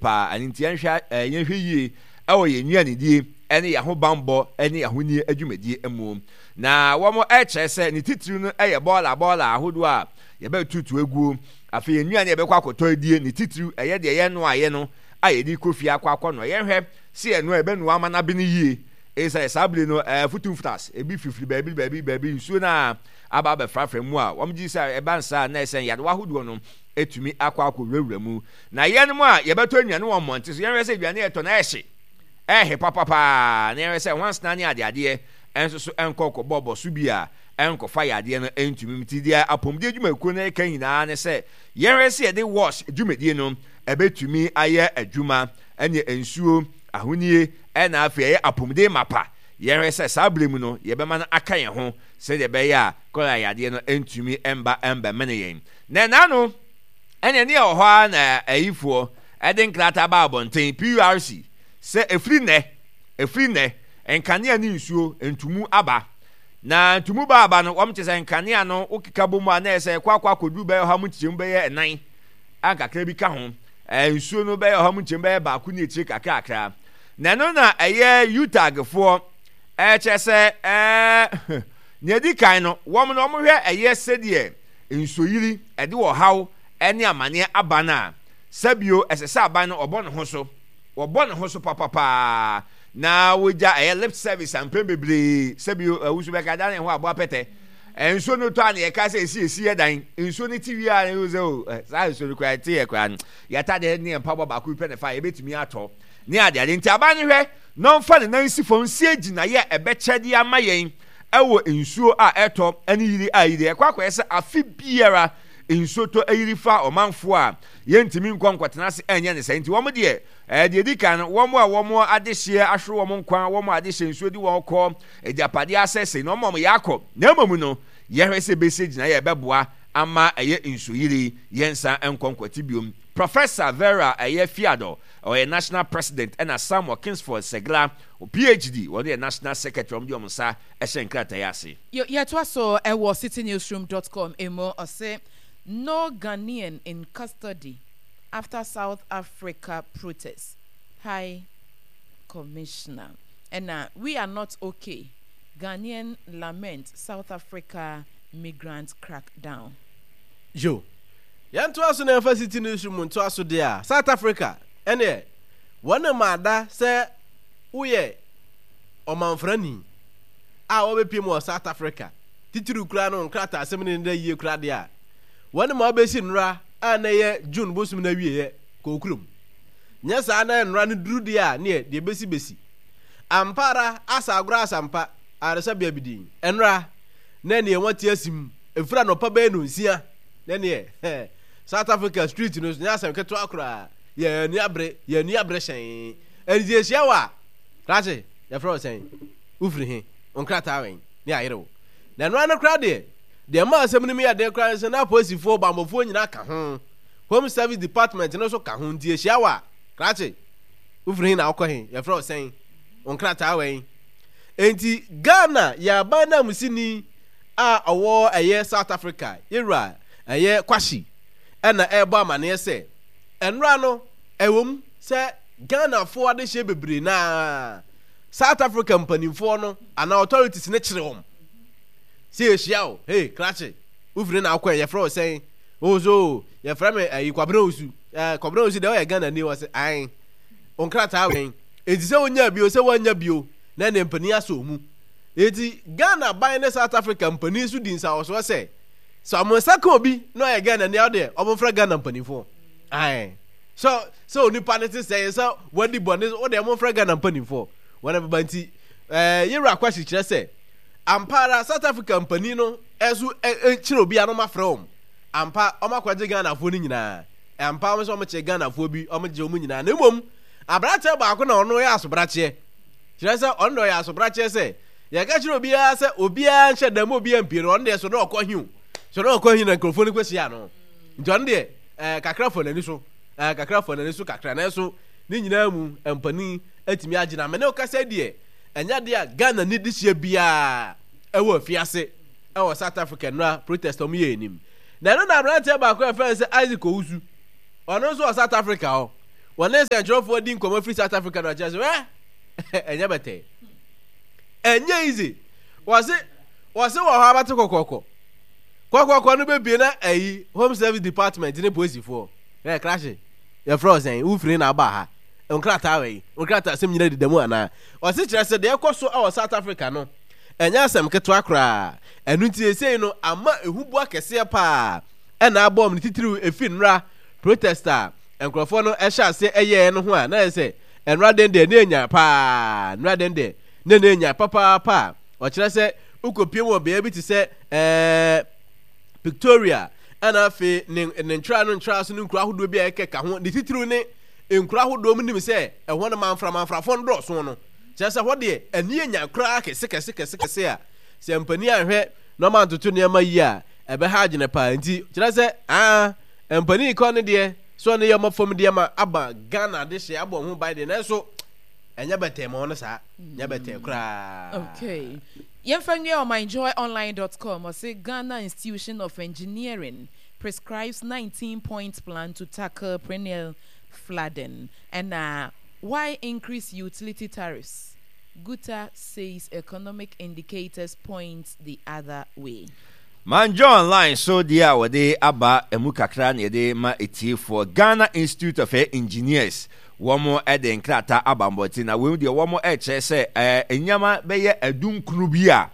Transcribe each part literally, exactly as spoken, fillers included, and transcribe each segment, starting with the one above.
paa. Ɛno nti yɛnhwɛ ɛɛ yɛnhwɛ yie ɛwɔ yɛn nnuanedie ɛne yɛn ahobanbɔ ɛne yɛn ahonie adwumadie mu. Na wɔn ɛkyerɛ sɛ ne titiri no ɛyɛ bɔɔla bɔɔla ahodoɔ a yɛbɛtutu aguo. Afei yɛn nnuane a yɛbɛkɔ akɔtɔ adie, ne titiri ɛyɛ deɛ yɛn ayɛ no a yɛde kɔ fie akɔ akɔ no, yɛnhwɛ si yɛn yɛbɛnoa ama n'abe no yie. Ɛsɛ saa bere no ɛɛ futumfutas ebi fifiri baabi baabi baabi nsuo na aba abɛfrafra mu a wɔn gye sɛ ɛba nsa na ɛsɛn yadewa ahodoɔ no etumi akɔ akɔ wurawura mu. Na yɛn mu a yɛbɛtɔ nnuane wɔ mmɔnten so, yɛnhwɛ sɛ aduane yɛtɔ na ɛhye ɛhye papapaa, na yɛnhwɛ sɛ nwansena ne adeadeɛ ɛnso so ɛnkɔ kɔbɔbɔ so bi a ɛnkɔfa yadeɛ no ɛntumi mu. Ti deɛ apɔmuden adwumakuo no ɛka nyinaa ne sɛ yɛnhwɛ sɛ yɛde wash dwumadie no ɛbɛtumi ayɛ adwuma, ɛne nsuo ahonie, ɛna afei ɛyɛ apɔmuden mapa. Yɛnhwɛ sɛ saa bere mu no yɛbɛma no aka yɛn ho sɛdeɛ ɛbɛyɛ a kɔla yadeɛ no ɛntumi ɛmba ɛmbɛmene yɛn. Na ɛna ɛne ne ɛwɔ hɔ ara na ayifoɔ ɛde nkrataa ba abɔnten P U R C sɛ ɛfiri nnɛ ɛfiri nnɛ nkanea ne nsuo ntumu aba. Na ntumu ba aba no, wɔn kyerɛ sɛ nkanea no wokeka bɔ mu a na ɛsɛ ɛkɔ akɔ akɔduru bɛyɛ ɔha mu nkyɛmu bɛyɛ ɛnan a kakra bi ka ho. ɛɛ nsuo no bɛyɛ ɔha mu nkyɛmu bɛyɛ baako ne akyire kakrakra. Na ɛno na ɛyɛ U T A G foɔ ɛkyerɛ sɛ ɛɛ nea edi kan no, wɔn no wɔn hwɛ ɛyɛ sɛdeɛ nsuoyiri ɛde ɔhaw ɛne amaneɛ aba no a, sɛbio ɛsɛ sɛ aban no ɔbɔ ne ho so, wɔbɔ ne ho so papapaa na wogya ɛyɛ lip service ampɛn bebree. Sɛbio ɛwusu bɛka dan ne ho aboa pɛtɛ nsuo no tɔ a na yɛka sɛ esi esi yɛ dan nsuo no ti wie a, na sɛ o saa nsuo no koraa ti yɛ koraa no, yɛatadeɛ ne yɛn mpaboa baako bi pɛ ne fa yɛbɛtumi atɔ ne adeade. Nti aban no hwɛ na ɔmfa ne nan si fam sie gyinaeɛ a ɛbɛkyɛ de ama yɛn ɛwɔ nsuo a ɛtɔ ɛne yiri a yiri ɛkɔ akɔyɛ sɛ afe biara nsuo tɔ ayiri fa ɔmanfoɔ a yɛntumi nkɔ nkɔtena ase ɛnyɛ ne sɛ. Nti wɔn deɛ ɛɛ deɛ di kan no, wɔn a wɔn adehyeɛ ahwere wɔn nkwa, wɔn a adehyeɛ nsuo di wɔn kɔ, agyapadeɛ asɛsɛ na wɔn a wɔn yɛ akɔ. Na mmom no, yɛhwɛ sɛ bɛsi gyinaeɛ a ɛbɛboa ama ɛyɛ nsuoyiri yɛnsa nkɔ nkɔte biom. Professor Vera ɛyɛ Fiado, ɔyɛ national president, ɛna Samuel Kingsford Segla, P H D, wɔn yɛ national secretary. Wɔn de wɔn nsa ɛhyɛ nkrataa ase. Yɛtoa so ɛwɔ citynewsroom dot com emu. Ɔsɛ no Ghanaian in custody after South Africa protest, High Commissioner. Ɛna "We are not okay, Ghanaian lament South Africa migrant crackdown." Yo, yɛntoa so na yɛmfa City Newsroom ntoa so deɛ a, South Africa ɛneɛ wɔne maada sɛ woyɛ ɔmanfrani a wɔbɛpie mu wɔ South Africa, titiriw koraa no nkrataa asɛm ne ne da yie koraa deɛ a, wɔne ma wobɛsi nnora a na ɛyɛ June bosom no awieɛ kɔ kurom. Nyɛ saa na nnora no duru deɛ a, neɛ deɛ bɛsi bɛsi. Ampa ara, asa agorɔ asampa ayaresabea bi din nnora na neɛ wɔte asim ɛfiri anɔpa bɛyɛ no nsia na neɛ South Africa street no so nyɛ asɛm ketewa koraa. Yɛn ani abere, yɛn ani abere hyɛn. Ɛnti yɛhyia wɔ a, krakye, yɛfrɛ wo sɛn, wofiri he, nkrataa wɛn ne ayere wo. Na ɛno ano koraa deɛ, deɛ ma asɛm no mu yɛ den koraa ne sɛ na apolisifoɔ bammɔfoɔ nyinaa ka ho, Home Service Department no nso ka ho. Nti yɛhyia wɔ a, krakye, wofiri he na wokɔ he, yɛfrɛ wo sɛn, nkrataa wɛn. Enti Ghana yɛ aban nanmusini a ɔwɔ ɛyɛ South Africa, yɛwura ɛyɛ Kwahye, ɛna ɛrebɔ amanneɛ sɛ ɛnora no ɛwɔ sɛ Ghanafoɔ adehyeɛ bebree naa South Africa mpanimfoɔ no anaa authorities ne kyerɛ wɔn sɛ yɛhyia o, hey krakye, wofiri na akɔ, yɛfrɛ wo sɛn? O so yɛfrɛ me ɛyi Kwabena Osu. Ɛɛ Kwabena Osu deɛ, ɔyɛ Ghana ni? Wɔ sɛ ae, nkrataa wɛn? Enti sɛ wonya bio sɛ woanya bio na ne mpanin asɔ mu. Enti Ghana ban ne South Africa mpanin so di nsawɔsoɔ sɛ sɛ ɔmo nsa ka obi na ɔyɛ Ghana ni a, ɔdeɛ ɔmo mfrɛ Ghana mpanimfoɔ. Ae, sɛ sɛ onipa no te sɛ sɛ wadi bɔne, ɔdeɛ ɔmo mfrɛ Ghana mpanimfoɔ wɔn bɛba. Nti ɛɛ yɛwura Akwasi kyerɛ sɛ ampa ara South Africa mpanin no ɛso kyerɛ obi a na ɔmo afrɛ wɔn. Ampa, ɔmo akɔgye Ghanafoɔ no nyinaa. Ampa, ɔmo sɛ ɔmo kye Ghanafoɔ bi, ɔmo gye ɔmo nyinaa, na mmom aberanteɛ baako na ɔno yɛ asobrakyeɛ, kyerɛ sɛ ɔno deɛ ɔyɛ asobrakyeɛ sɛ yɛka kyerɛ obiara sɛ obiara nhyɛ dan mu, obiara mpie no, ɔno deɛ so na ɔkɔ hiw so na ɔkɔ hi na nkurɔfoɔ no kɔhyia no. Nti ɔno deɛ ɛɛ kakra fɔ n'ani so, ɛɛ kakra fɔ n'ani so kakra, nanso ne nyinaa mu mpanin atumi agyina. Mene kasa deɛ, ɛnyɛ deɛ a Ghana ni de hyia biara ɛwɔ afiase ɛwɔ South Africa nnora protest ɔmo yɛ anim. Na ɛno na aberanteɛ baako a yɛfrɛ no sɛ Isaac Owusu, ɔno nso wɔ South Africa hɔ. Wɔne nsɛntwerɛfoɔ di nkɔmmɔ firi South Africa na ɔkyerɛ sɛ wɛ ɛnyɛ bɛtɛɛ. Ɛnyɛ easy. Wɔse wɔse wɔ hɔ abɛto kɔkɔkɔ. Kɔkɔkɔ no bɛbie na ayi Home Service Department ne polisifoɔ. Ɛ krahye yɛfrɛ wo sɛn wofiri na aba ha. Nkrataa wɔ yi nkrataa asɛm nyina deda mu anaa. Ɔse kyerɛ sɛ deɛ ɛkɔ so wɔ South Africa no ɛnyɛ asɛm ketewa koraa. Ɛno nti seesei no ama ehuboa kɛseɛ paa ɛna abɔ wɔn ne titiriw efi nnora protest a nkurɔfoɔ no ɛhyɛ aseɛ ɛyɛɛ no ho a na yɛ sɛ nnora den deɛ ne enya paa nnora den deɛ ne ne enya papaapa a ɔkyerɛ sɛ wokɔpie mu wɔ beaeɛ bi te sɛ ɛɛ Victoria ɛna afei ne ne ntwerɛ no ntwerɛ so ne nkuro ahodoɔ bi a ɛkeka ho ne titiriw ne nkuro ahodoɔ mu nim sɛ ɛhɔ no manfra manfrafoɔ no dɔɔso no kyerɛ sɛ hɔ deɛ ani enya koraa kɛse kɛse kɛse kɛse a sɛ mpanin anhwɛ na ɔma ntoto nneɛma yie a ɛbɛha adwene paa nti kyerɛ sɛ aa mpanin kɔ ne deɛ so ɔne yɛ ɔma fam deɛ ma aba Ghana de hyɛ abɔ ho ban deɛ nanso ɛnyɛ bɛtɛɛ ma ɔno saa nyɛ bɛtɛɛ koraa. Okay. Yɛmfa nwie ɔmanjoyonline dot com ɔse Ghana Institution of Engineering prescribes nineteen point plan to tackle perennial flooding ɛna why increase utility tariffs Guta says economic indicators point the other way. Manjoyonline so deɛ a wɔde aba ɛmu kakra na yɛde ma atiefoɔ. Ghana Institute of Engineers wɔn de nkrataa aba mbɔnten na wei deɛ wɔn rekyerɛ sɛ ɛɛ nneɛma bɛyɛ adunkunu bi a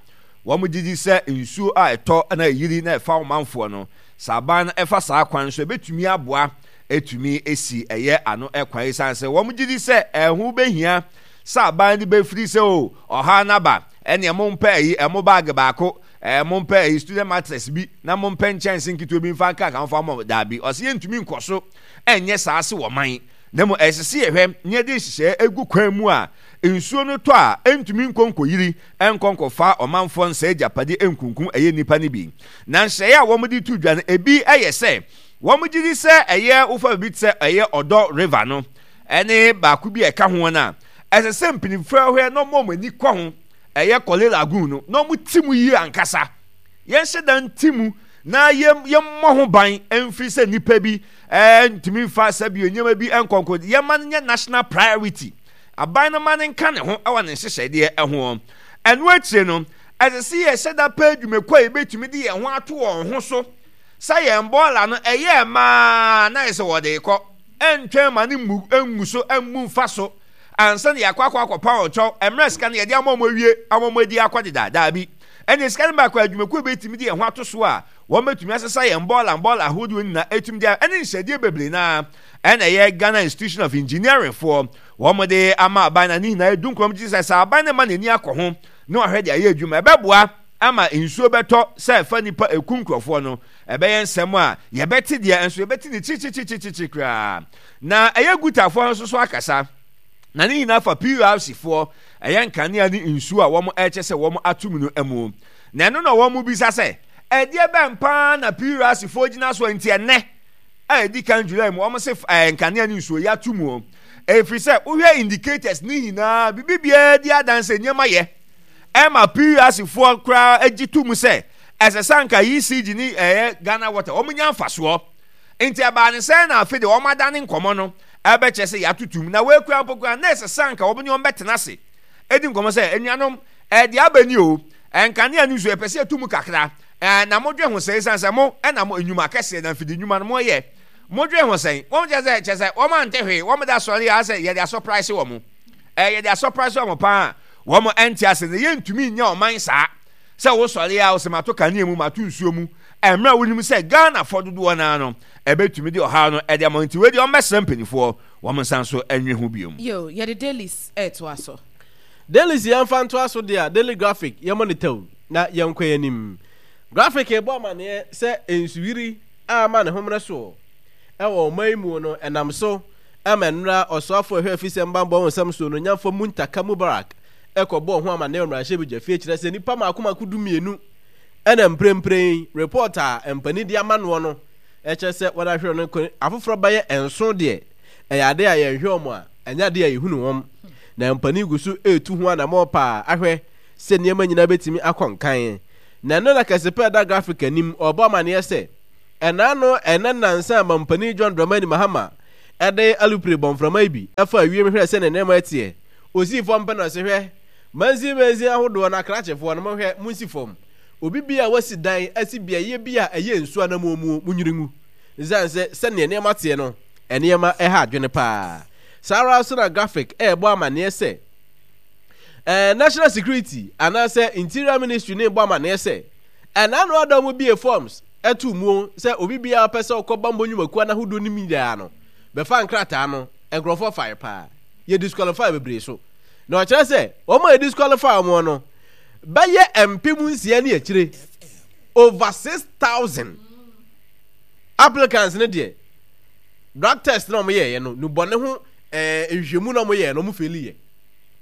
wɔn gye di sɛ nsuo a ɛtɔ na ɛyiri na ɛfa ɔmanfoɔ no sɛ aban no ɛfa saa kwan so ɛbɛtumi aboa ɛtumi esi ɛyɛ ano ɛkwan ɛsiane sɛ wɔn gye di sɛ ɛho bɛhia sɛ aban no bɛfiri sɛ o ɔhaw no aba ɛneɛ mompɛ ɛyi ɛmo baage baako ɛɛ mompɛ ɛyi student mattress bi na mompɛ nkyɛnse nketewa bi mfa nka nka mfa mɔ daabi ɔsɛ yɛntumi nkɔ so ɛnyɛ saa se wɔ man na mmom ɛsɛ sɛ yɛhwɛ na yɛde nhyehyɛe gu kwan mu a nsuo no tɔ a ɛntumi nkɔ nkɔyiri nkɔ nkɔfa ɔmanfoɔ nsɛe agyapade nkunkum ɛyɛ nnipa no bi. Na nhyehyɛe a wɔde to dwa no ebi yɛ sɛ wɔgye di sɛ ɛyɛ wofa biribi te sɛ ɛyɛ Ɔdɔ River no ɛne baako bi a ɛka ho no a ɛsɛ sɛ mpanimfoɔ hwɛ na wɔn ani kɔ ho ɛyɛ Korle Lagoon no na wɔn mu yie ankasa. Yɛnhyɛ da nti mu na yɛmmɔ ho ban mfiri sɛ nnipa bi ntumi mfa sɛbio nneɛma bi nkɔnkɔ yɛma no nyɛ national priority aban no ma no nka ne ho wɔ ne nhyehyɛdeɛ ho ɛno akyire no ɛsɛ sɛ yɛhyɛ da pɛ adwumakuo a yɛbɛtumi de yɛn ho ato wɔn ho so sɛ yɛn bɔɔla no ɛyɛ maa na yɛ sɛ wɔde kɔ ɛntwɛn ma no mmu ngu so mmu mfa so ansa na yɛakɔ akɔ akɔpa wɔn kyɛw mmerɛ sika no yɛde ama wɔn awie ama wɔn adi akɔ deda daabi ɛne sika no baako adwumakuo bɛtumi de yɛn ho ato so a wɔn bɛtumi asesa yɛn bɔɔla bɔɔla ahodoɔ nyinaa ɛtumi de ɛne nhyɛdeɛ bebree naa ɛna ɛyɛ Ghana Institution of Engineering foɔ wɔn de ama aban na ne nyinaa edu nkɔm gye sɛ sɛ aban no ma n'ani akɔ ho na wahwɛ de ayɛ adwuma ɛbɛboa ama nsuo bɛtɔ sɛ ɛfa nipa eku nkurɔfoɔ no ɛbɛyɛ nsɛm a yɛbɛte deɛ nso yɛbɛte ne kyikyikyikyikyikyi koraa na ɛyɛ gutafoɔ nso so akasa na ne nyinaa fa P R C foɔ ɛyɛ nkanea ne nsuo a wɔn ɛkyɛ sɛ wɔn atum no mu na ɛno na wɔn bisa sɛ ɛdeɛ bɛn paa na P R C foɔ gyina so nti ɛnɛ a ɛdi kan July mu wɔn se ɛɛ nkanea ne nsuo yɛ ato mu ɛfiri sɛ wohwɛ indicators ne nyinaa bibi biara di adanse nneɛma yɛ ɛma P R C foɔ koraa agye to mu sɛ ɛsɛ sɛ anka E C G ne ɛyɛ Ghana Water wɔn nya mfasoɔ nti ɛbaa ne sɛn na afei de wɔn adane nkɔmɔ no ɛbɛkyɛ sɛ yɛatoto na wɔakura mpo koraa na ɛsɛ sɛ anka wɔn ne wɔn bɛtena ase edi nkɔmɔ sɛ anuanom ɛde aba ni o nkanea no nso yɛpɛ sɛ yɛtu mu kakra ɛɛ na modwe ho sɛ esan sɛ mo ɛna mo enyuma kɛseɛ na mfidi nnwuma no mo yɛ modwe ho sɛn wɔn kyɛ sɛ kyɛ sɛ wɔn ante hwee wɔn da sɔre yɛ asɛ yɛde asɔpraise wɔn ɛɛ yɛde asɔpraise wɔn paa wɔn ɛnte ase na yɛntumi nyɛ ɔman saa sɛ wosɔre a wosɛ mato kanea mu mato nsuo mu mmerɛ a wonim sɛ Ghana fɔ dodoɔ naa no ɛbɛtumi de ɔhaw no ɛde ama nti wei deɛ ɔmmɛsrɛ mpanimfoɔ wɔn nsa nso ɛnwe ho biom. Yo, yɛde dailies ɛɛtoa so. Dailies yɛmfa ntoa so deɛ a Daily Graphic yɛmmɔ ne tɛw na yɛnkɔ yɛn anim. Graphic rebɔ amanneɛ sɛ nsuyiri a ama ne homene soɔ wɔ ɔman yi mu no ɛnam so ama nnora ɔsoafoɔ a ɛhwɛ afisɛm bammɔ ho nsɛm soɔ no Onyamfoɔ Muntaka Mubarak kɔbɔɔ ho amanneɛ wɔ mmarahyɛbadwafie kyerɛ sɛ nnipa mmaako mmaako du mmienu ɛna mprempren report a mpanin de ama noɔ no ɛkyerɛ sɛ wɔn ahwere no kɔ afoforɔ bɛyɛ nson deɛ ɛyɛ ade a yɛnhwɛ wɔn a ɛnyɛ ade a yɛhunu wɔn na mpanin gu so retu ho anammɔn paa ahwɛ sɛ nneɛma nyinaa bɛtumi akɔ nkan na ɛno na kɛse pɛ da graphic anim ɔbɔ amanneɛ sɛ ɛna no ɛnɛ nansa a mampanin John Dramani Mahama De alupre bɔ mframa yi bi faa wiem hwɛɛ sɛnea nneɛma teɛ. Osii fam pɛ na ɔse, Hwɛ, mansin mansin ahodoɔ no akrakyefoɔ no, monhwɛ, monsi fam. Obi biara a wasi dan asi beaeɛ bi a ɛyɛ nsuo anammɔn muo, monnwiri ngu. Esiane sɛ sɛnea nneɛma teɛ no, nneɛma ha adwene paa. Saa ara nso na Graphic rebɔ amanneɛ sɛ, eh, National Security anaasɛ Interior Ministry no rebɔ amanneɛ sɛ, ɛna ano ada wɔn bie forms too muo sɛ obi biara ɔpɛ sɛ ɔkɔ bammɔ nnwumakuo anahodoɔ no mu nyinaa no, bɛfa nkrataa no, nkurɔfoɔ fae paa. Yɛ disqualify bebree so. Na ɔkyerɛ sɛ, wɔn a yɛ disqualify wɔn no, bɛyɛ mpem nsia ne akyire, over six thousand applicants no deɛ, drug test na wɔn yɛɛyɛ no, nubɔne ho ɛɛ nhwehwɛmu na wɔn yɛɛ no, wɔn faili yɛ.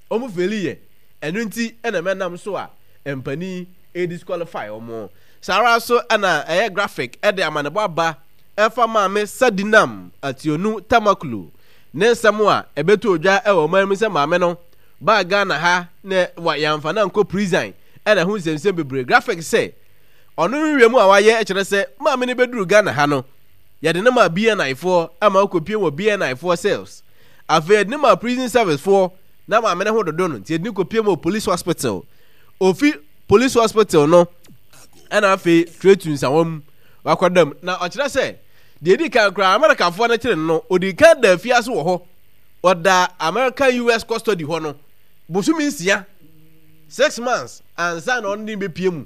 Wɔn faili yɛ. Ɛno nti ɛna mɛnam so a mpanin ɛdisqualify wɔn. Saa ara nso na ɛyɛ graphic de amanebɔ aba ɛfa Maame Sadinam Ationu Tamaklu ne nsɛm a ɛbɛtoo dwa wɔ ɔman mu sɛ maame no baa Ghana ha na yɛamfa no ankɔ prison ɛna ɛho nsɛmnsɛm bebree. Graphic sɛ ɔno nhwehwɛmu a wayɛ kyerɛ sɛ maame no bɛduru Ghana ha no yɛde no maa B N I foɔ ama ɔkɔpie wɔ B N I foɔ cells. Afei yɛde no maa prison service foɔ na maame no ho dodo no nti yɛde no kɔpie wɔ police hospital. Ofi police hospital no ɛna afei Tretu Nsawam wakɔda mu. Na ɔkyerɛ sɛ deɛ ɛdi kan koraa Amerikafoɔ no kyere no no, ɔdi kan da afiase wɔ hɔ. Ɔda American U S custody hɔ no bosome nsia, six months, ansa na ɔno ne bɛpie mu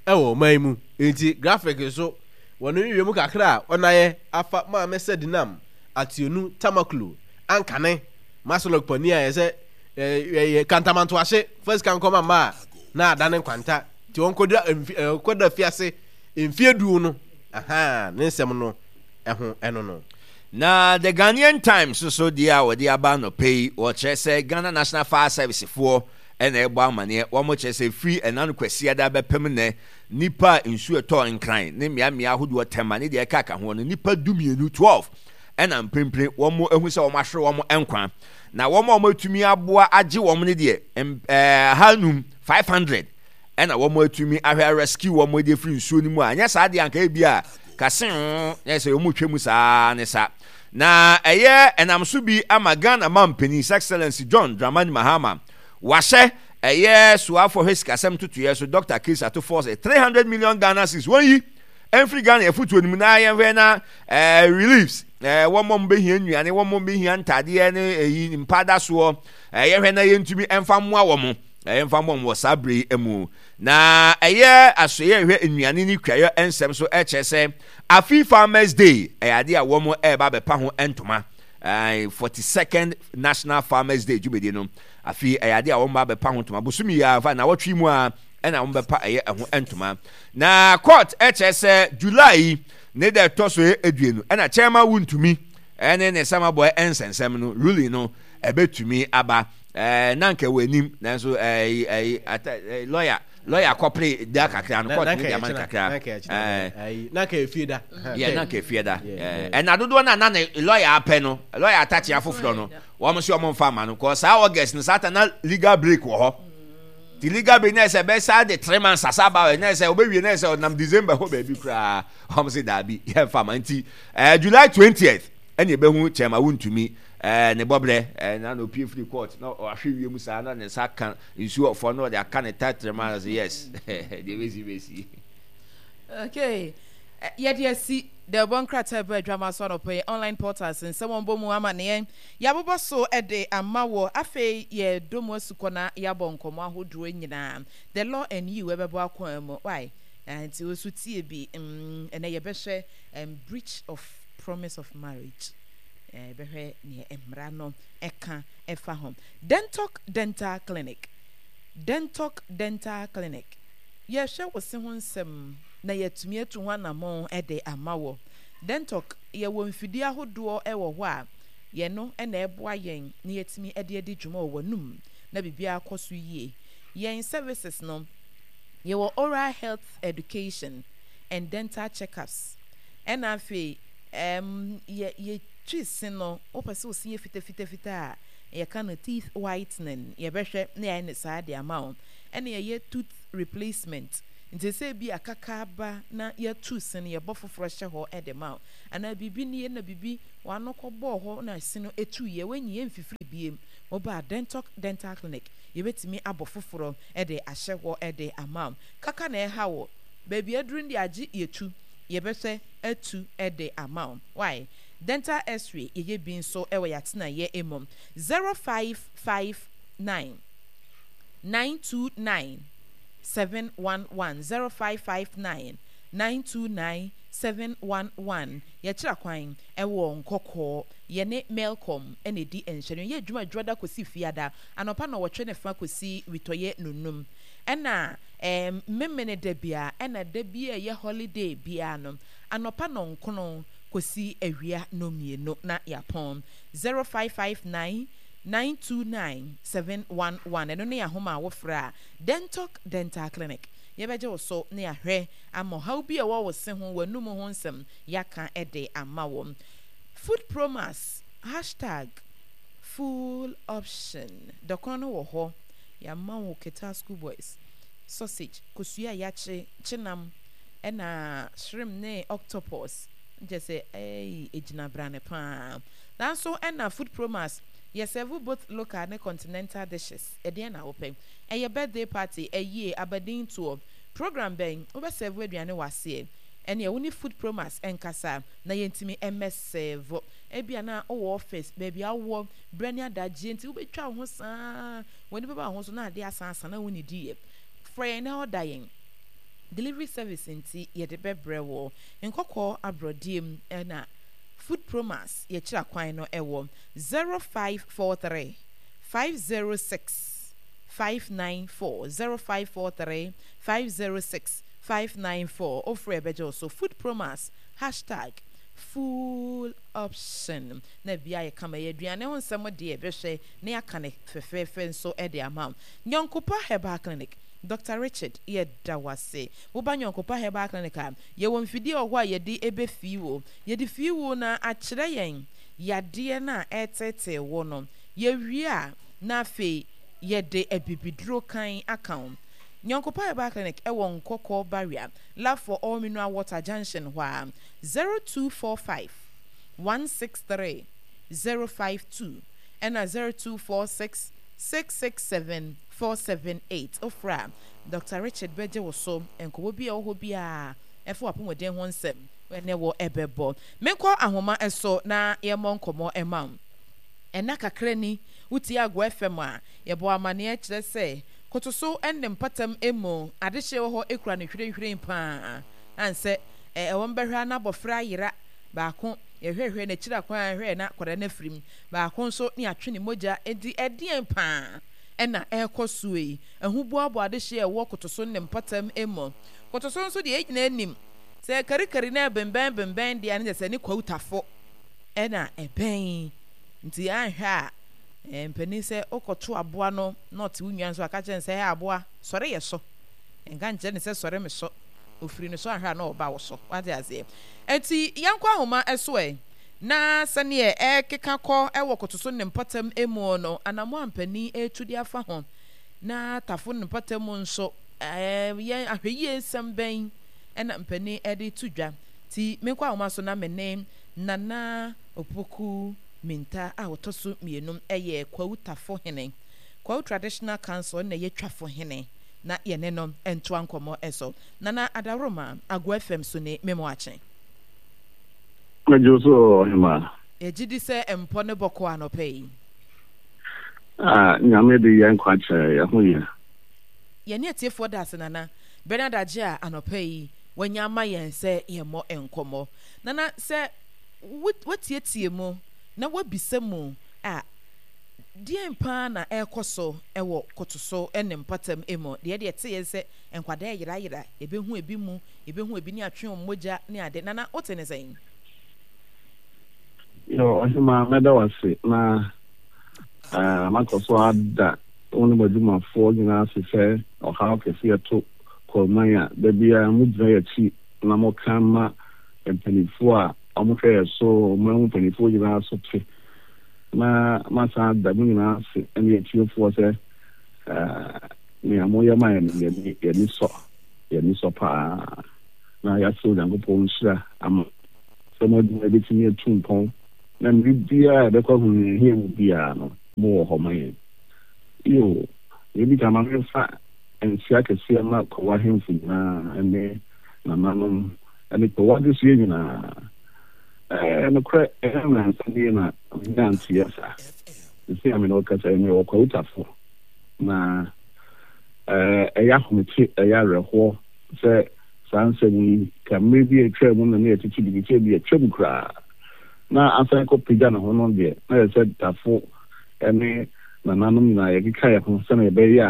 ɛwɔ ɔman mu. Nti graphic nso wɔn nhwehwɛ mu kakra a ɔnayɛ afa Maame Sedinam Ationu Tamaklo ankane Masolok panin a yɛsɛ ɛyɛ kantamantoahye fa sika nkɔma mma a na adane nkwanta nti ɔnkɔda ɔnkɔda fiase mfie du no, aha ne nsɛm no ɛho ɛno no. Na The Ghanaian Times nso deɛ a wɔde aba anɔpa yi, wɔkyerɛ sɛ Ghana National Fire Service foɔ na ɛrebɔ amaneɛ. Wɔkyerɛ sɛ firi ɛna no Kwasiada bɛpem nnɛ, nnipa a nsuo ɛtɔɔ Nkran ne mmeammea ahodoɔ Tema ne deɛ ɛkaka ho no, nnipa dumienu, twelve, ɛna mprempren wɔahu sɛ wɔahwere wɔn nkwa. Na wɔn a wɔatumi aboa agye wɔn no deɛ, ɛɛ ahanum, five hundred, ɛna wɔatumi ahwɛ rescue wɔn de afiri nsuo no mu a, anyɛ saa deɛ anka ebi a kasee na ɛsɛ wɔn retwa mu saa ne sa. Na ɛyɛ ɛnam so bi ama Ghana mampanin His Excellency John Dramani Mahama wahyɛ ɛyɛ soafoɔ hwɛ sikasɛm ntotoeɛ so Doctor Chris Ato Forson three hundred million Ghana cedis wɔn yi ɛmfiri Ghana afutuo no mu na yɛnhwɛ na ɛɛ reliefs ɛɛ wɔn a wɔbɛhia nnuane, wɔn a wɔbɛhia ntaadeɛ ne ɛyi mpadasoɔ, ɛɛ yɛhwɛ na yɛntumi ɛmfa mmoa wɔn, ɛyɛ mfa mmoa wɔn wɔ saa bere yi mu. Na ɛyɛ asoɛyɛ ɛhwɛ nnuane ne kuayɔ nsɛm so ɛkyerɛ sɛ afi Farmers Day ɛyɛ adeɛ a wɔn ɛreba abɛpa ho ntoma. Ɛɛ forty second National Farmers Day dwumadie no, afi ɛyɛ adeɛ a wɔn ba abɛpa ho ntoma bosomi yi a fa na wɔtwe mu a ɛna wɔn bɛpa ɛyɛ ɛho ntoma. Na court ɛkyerɛ sɛ July yi ne da ɛtɔ so aduonu ɛna Chairman Wuntumi ɛne ne samabɔ ɛnsɛnsɛm no ruling no ɛbɛtumi aba. Ɛɛ na nka ɛwɔ anim, nanso ɛɛ ɛɛ ata ɛɛ lawyer lawyer kɔpere da kakra no, court ne de ama no kakra. Ɛɛ na nka efie da. Yɛ na nka efie da. Ɛɛ ɛna dodoɔ na na ne lawyer apɛ no, lawyer atakyea foforɔ no, wɔn nso wɔn mfa ama no kɔ saa August no saa ta na legal break wɔ hɔ. Ti legal break na ɛsɛ bɛ de three months asa aba, na ɛsɛ ɔbɛwie na ɛsɛ ɔnam December hɔ baabi koraa, wɔn sɛ daabi, yɛn fa ama. Nti ɛɛ July twentieth ɛna ebehu Chairman Wuntumi ɛɛ ne bɔbrɛ ɛɛ na na opie firi court na ɔahwɛ wiem saa na ne nsa ka nsuo ɔfɔ na ɔde aka ne tɛtrɛma na sɛ yes, deɛ bɛsi bɛsi. Okay, yɛde asi dɛbɔ nkrataa bɛ adwama so anɔpɛ yi. Online portals nsɛm wɔn bɔ mu ama neɛ yɛabobɔ so de ama wɔ. Afei yɛdɔ mu asukɔ na yɛabɔ nkɔmmɔ ahodoɔ nyinaa. The Law and You ɛbɛbɔ akwan mu why nti wo so tie bi. mm, ɛnɛ yɛbɛhwɛ um, breach of promise of marriage. Yɛbɛhwɛ neɛ mmara no ɛka ɛfa ho. Dentok Dental Clinic, Dentok Dental Clinic, yɛhwɛ wo se ho nsɛm na yɛatumi atu ho anammɔn de ama wɔ. Dentok, yɛwɔ mfidie ahodoɔ wɔ hɔ a yɛno na ɛboa yɛn na yɛatumi de adi dwuma wɔ w'anum na biribiara kɔ so yie. Yɛn services no, yɛwɔ oral health education and dental checkups. Ɛna afei um, yɛ yɛtwi se no, wopɛ sɛ wo se yɛ fitafitafita a, yɛka no teeth whitening, yɛbɛhwɛ na yɛayɛ no saa de ama wo. Ɛna yɛyɛ tooth replacement. Nti sɛ bi akaka aba na yɛtu se no, yɛbɔ foforɔ hyɛ hɔ de ma wo. Anaa biribi nie na biribi w'ano kɔbɔɔ hɔ na se no ɛtuiɛ, woanyi ɛmfifiri biem. Woba Dentalk Dental Clinic, yɛbɛtumi abɔ foforɔ de ahyɛ hɔ de ama wo. Kaka na ɛha wo, baabi aduru no deɛ agye yɛtu, yɛbɛhwɛ atu de ama wo. Wai? Dental X-ray yɛyɛ bi nso wɔ yɛatenaeɛ mu. zero five five nine nine two nine seven one one zero five five nine nine two nine seven one one Yɛkyerɛ kwan wɔ Nkɔkɔɔ. Yɛne Melcom na ɛdi nhwɛne. Yɛyɛ adwuma Dwoada kɔsi Fiada, anɔpa nnɔwɔtwe ne fa kɔsi witɔeɛ nnɔnnum. Ɛna ɛɛm Memeneda biara, ɛna da bi a ɛyɛ holiday biara no, anɔpa nnɔnkron kɔsi awia nnɔnmienu na yɛapɔn. zero five five nine nine two nine seven one one Ɛno ne ahoma a wofrɛ a, Dentalk Dental Clinic, yɛbɛgye wo so na yɛahwɛ ama ɔhaw bi a ɛwɔ wo se ho, w'anum ho nsɛm, yɛaka de ama wo. Food Promax, hashtag full option, dɔkono no wɔ hɔ, yɛama wo Ketaa School Boys, sausage, kosua a yɛakye, kyenam, ɛna shrimp ne octopus, kyerɛ sɛ ɛyi egyina brane paa. Nanso ɛna Food Promax, yɛ serve both local ne continental dishes. Ɛdeɛn na wopɛ? Ɛyɛ birthday party, ayie, abadin toɔ, program bɛn? Wobɛ serve aduane wɔ aseɛ? Ɛneɛ wo ne Food Promax nkasa na yɛntumi mmɛ serve. Ebia na wowɔ office, baabi a wowɔ, berɛ ne adagyeɛ nti wobɛtwa wo ho saa, w'ani bɛba wo ho so na adeɛ asan asa na wonnidiiɛ. Frɛ yɛn na order yɛn. Delivery service nti yɛde bɛbrɛ wo. Nkɔkɔɔ aborɔdeɛ mu na Food Promax yɛkyerɛ kwan no wɔ zero five four three five zero six five nine four zero five four three five zero six five nine four Wofrɛ yɛbɛgye wo so. Food Promax hashtag full option na bia yɛ kama yɛ aduane ho nsɛm deɛ bɛhwɛ na yɛaka ne fɛfɛɛfɛ nso de ama wo. Nyɔnkopa Herbal Clinic, Doctor Richard yɛda wo ase. Woba Nyɔnkopa Herbal Clinic a, yɛwɔ mfidie wɔ hɔ a yɛde bɛfii wo. Yɛde fii wo na akyerɛ yɛn yadeɛ no a ɛreteetee wo no. Yɛwie a, na afei yɛde abibiduro kann aka wo. Nyɔnkopa Herbal Clinic wɔ Nkɔkɔ Barrier, Love for All Mineral Water Junction hɔ ara. zero two four five one six three zero five two ɛna zero two four six six six seven four seven eight. Wofrɛ a, Doctor Richard bɛgye wo so. Nkɔmmɔ bi a ɛwɔ hɔ biara ɛfa w'apɔmuden ho nsɛm ne wo bɛbɔ. Menkɔ ahoma so na yɛmmɔ nkɔmmɔ mma wo. Nna kakra ni, wotie Agorɔ F M a, yɛbɔ amanneɛ kyerɛ sɛ Kotoso ne mpɔtam mu adehyeɛ wɔ hɔ kura no hwirenhwiren pa ara. Ansɛ ɛwɔ mbɛhwɛ a na abɔfra ayera baako, yɛhwɛhwɛ n'akyiri akwan a hwɛ na akwadaa no afiri mu, baako nso ne yɛatwe ne mogya. Enti ɛdeɛn pa ara na ɛrekɔ soɔ yi? Ahuboaboa adehyeɛ a ɛwɔ Kotoso ne mpɔtam mu. Kotoso nso deɛ yɛn nyinaa nim sɛ karikari na ɛbembɛn bembɛn deɛ a ne kyerɛ sɛ ne kwautafo na ɛbɛn. Nti anhwɛ a mpanin sɛ wokɔto aboa no na ɔte wo nua nso a, ka kyerɛ no sɛ, Hɛ aboa, sɔre yɛ so. Nka nkyerɛ no sɛ sɔre me so. Ofiri no so anhwɛ a na ɔba wo so. Wate aseɛ? Enti yɛnkɔ ahoma so ɛ. Na sɛdeɛ ɛrekeka kɔ wɔ kotoso ne mpɔtam mu no, anammɔn a mpanin retu de afa ho, na tafo ne mpɔtam mu nso, yɛn ahwɛyie nsɛm bɛn na mpanin de reto dwa? Nti menkɔ ahoma so na me ne Nana Opoku Minta a ɔtɔ so mmienu yɛ Kwawu Tafo Hene, Kwawu Traditional Council na ɛyɛ Twafo Hene, na yɛne no ntoa nkɔmmɔ so. Nana Adaworoma, Agoa F M so ni, me mo akye. Megye wo so ɔhemaa. Yɛgye di sɛ mpɔ no bɔkɔɔ anɔpa yi. Ah, Nyame de yɛn nkwa kyɛ yɛn ho yɛ. Yɛne atiefoɔ da ase Nana. Bernard Adjei a anɔpa yi wanya ama yɛn sɛ yɛmmɔ nkɔmmɔ. Nana, sɛ woatietie mu na woabisa mu a, deɛn paa na ɛrekɔ so wɔ Kotoso ne mpɔtam mu? Deɛ deɛ ɛteeɛ ne sɛ nkwadaa reyerayera, yɛbɛhu ebi mu, yɛbɛhu ebi ne atwe wɔn mogya ne ade. Nana, wote ne sɛn? Yo, Ɔhemaa, mɛda wo ase na makɔ so ada wo ne mo adwumafoɔ nyinaa ase sɛ ɔhaw kɛseɛ to Kɔrman a, da biara mogyina yɛn akyi na moka ma mpanimfoɔ a wɔhwɛ yɛn so, ɔman mu mpanimfoɔ nyinaa so te. Na masan ada mo nyinaa ase ne atiefoɔ sɛ nea moyɛ ma yɛn no, yɛn ani sɔ. Yɛn ani sɔ paa na yɛasrɛ Onyankopɔn nhyira ama sɛ mo adwuma yi bɛtumi atu mpɔn na mmere biara a yɛbɛkɔ ahohiahia mu biara no, mowɔ hɔ ma yɛn. Iyo, nea edi kan ma memfa nkyia kɛseɛ mma Kwawu ahemfo nyinaa ne nananom ne Kwawu adehyeɛ nyinaa. Ɛɛ, nokorɛ, ɛnyɛ nnansa nie na menyaa nteɛ saa. Seesei a me ne wo kasa yi, mewɔ Kwawu Tafo, na ɛɛ, ɛyɛ ahomete, ɛyɛ awerɛhoɔ sɛ saa nsɛm yi, ka mmere bi a atwam mu na na yɛtete biribi sɛ ebi atwam koraa na asan kɔpagya ne ho no deɛ, na ɛsɛ sɛ Tafo ne nananom nyinaa yɛkeka yɛn ho sɛnea ɛbɛyɛ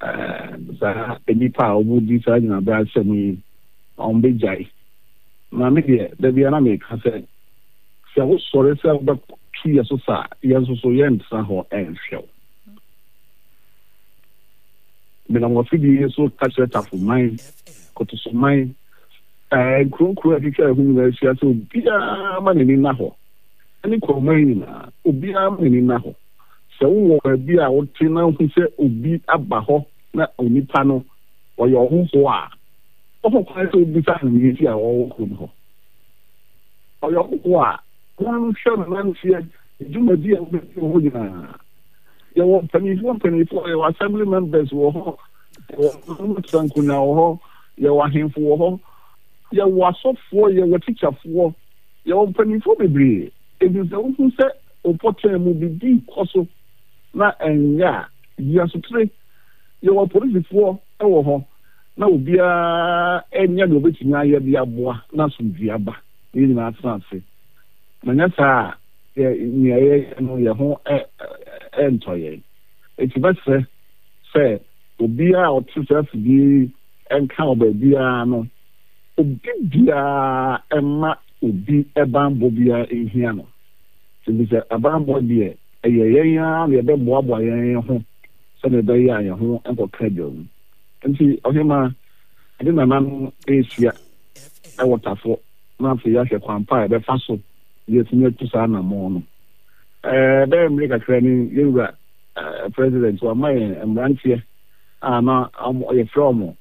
a saa nnipa a wɔdi saa nyinaberɛ asɛm yi wɔbɛgyae. Na me deɛ, da biara na meka sɛ, sɛ wosɔre sɛ wobɛtu yɛn so sa a, yɛn nso so yɛrentena hɔ nhwɛ wo. Menam w'afidie yi so ka kyerɛ Tafo man, Kotoso man, ɛɛ nkuro nkuro a atwitwa ɛho nyinaa ahyia sɛ obiara ma n'ani nna hɔ, ɛne Kwawu nyinaa, obiara ma n'ani nna hɔ. Sɛ wowɔ baabi a wote na wohu sɛ obi aba hɔ na onipa no ɔyɛ ɔhohoɔ a, wɔ kwan sɛ wobisa no nea nti a ɔwɔ kurom hɔ. Ɔyɛ ɔhohoɔ a, monhwɛ no nanteɛ, ne dwumadi a wobɛdi wɔ hɔ nyinaa. Yɛwɔ mpanimfoɔ mpanimfoɔ, yɛwɔ assembly members wɔ hɔ, yɛwɔ nananom nkonnwa wɔ hɔ, yɛwɔ ahemfo wɔ hɔ, yɛwɔ asɔfoɔ, yɛwɔ tikyafoɔ, yɛwɔ mpanimfoɔ bebree. Enti sɛ wohu sɛ wo pɔtɛn mu biribi rekɔ so na ɛnyɛ a, yi asotire. Yɛwɔ apolisifoɔ wɔ hɔ na obiara nyɛ deɛ ɔbɛtumi ayɛ de aboa na asomdwoeɛ aba na yɛn nyinaa atena ase. Na nyɛ saa a, nea yɛyɛ no yɛn ho rentɔ yɛn. Enti mɛsrɛ sɛ obiara a ɔte saa afidie yi nka wɔ baabiara no, obi biara mma obi banbɔ biara nhia no. Efisɛ abanbɔ deɛ, ɛyɛ yɛn ara na yɛbɛboaboa yɛn ho sɛdeɛ ɛbɛyɛ a yɛn ho nkɔka adwa mu. Enti ɔhemmaa, yɛde nananom rehyia wɔ Tafo na afei yɛahwɛ kwan pa a yɛbɛfa so na yɛatumi atu saa anammɔn no. Ɛbɛyɛ mmere kakra ni, yɛn wura President wama yɛn mmeranteɛ a na yɛfrɛ wɔn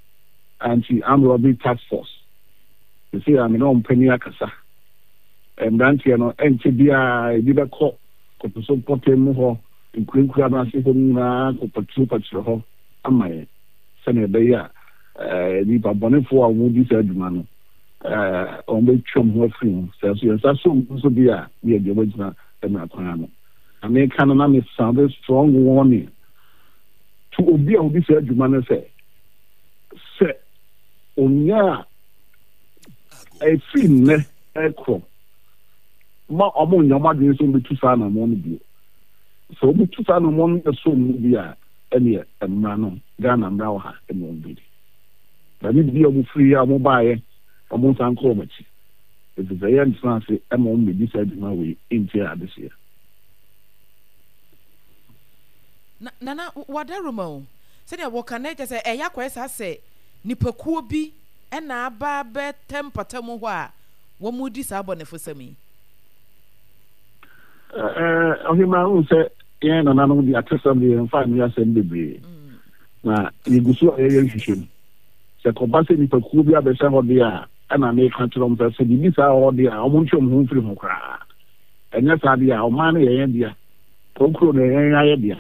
Anti-Armed Robbery Task Force. Seesei a me ne wɔn panin akasa. Mmeranteɛ no, ɛnkyɛ biara ebi bɛkɔ Kotoso mpɔtam mu hɔ, nkurakura no ase hɔ nyinaa kɔpaturopaturo hɔ ama yɛn sɛnea ɛbɛyɛ a nnipa bɔnefoɔ a wɔdi saa adwuma no wɔbɛtwa wɔn ho afiri ho. Sɛ nso yɛn nsa so wɔn nso deɛ a, ne yɛde wɔn agyina mmara kwan ano. Na meka no na me sound strong warning to obi a ɔdi saa adwuma no sɛ, sɛ onya a ɛfiri nnɛ ɛkorɔ ma wɔn nyɛ wɔn adwene sɛ wɔbɛtu saa anammɔn no bio. Sɛ wɔbɛtu saa anammɔn no ɛso wɔn mu bi a, ɛneɛ mmara no, Ghana mmara wɔ ha ɛne wɔn bɛdi. Baabi bi a wɔn firi a wɔn baeɛ, wɔn nsan nkɔ wɔn akyi. Ɛfiri sɛ yɛntena ase ma wɔn mmɛdi saa adwuma wei ntia adehyeɛ. Na Nana, w'adaroma o, sɛdeɛ wɔka no kyerɛ sɛ ɛyɛ akɔyɛ saa sɛ nipakuo bi na aba abɛtɛ mpata mu hɔ a wɔredi saa abɔnefosɛm yi. Ɔhemaa, wohu sɛ yɛn nananom de atesɛm de yɛmfa nyɛ asɛm bebree, na yɛgu so a yɛyɛ nhwehwɛmu. Sɛ kɔba sɛ nipakuo bi abɛhyɛ hɔ deɛ a, ɛna meka kyerɛ wɔn sɛ, sɛ biribi saa wɔ hɔ deɛ a, wɔntwe wɔn ho mfiri ho koraa. Ɛnyɛ saa deɛ a, ɔman no yɛ yɛn dea, kuro no yɛ yɛn ayɛ dea.